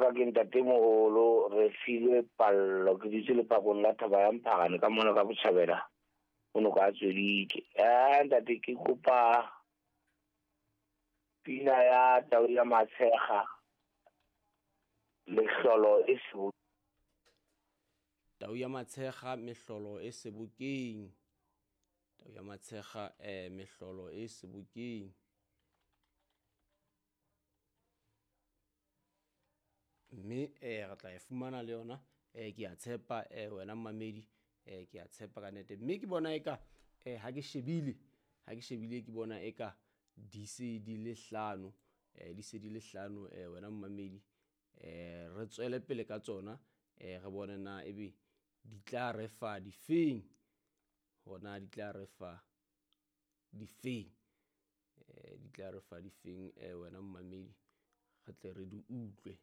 ka ke ntatemoholo Refilwe Pallo, ke dutse lepakong la Thaba ya Mpharane ka mona ka botjhabela o no ka tswedike. Ntate ke kopa pina ya Tau ya Matshekga, Mehlolo e Sebokeng. Tau ya Matshekga, Mehlolo e Sebokeng. Tau ya Matshekga, Mehlolo e Sebokeng. Mme re tla e fumana le yona, ke a tshepa, wena mmamedi, ke a tshepa ka nnete. Mme ke bona eka, ha ke shebile, ha ke shebile ke bona eka di se di le hlano, di se di le hlano, wena mmamedi. Re tswele pele ka tsona, re bone na ebe di tla re fa difeng, hona di tla re fa difeng, di tla re fa difeng, wena mmamedi, re tle re di utlwe.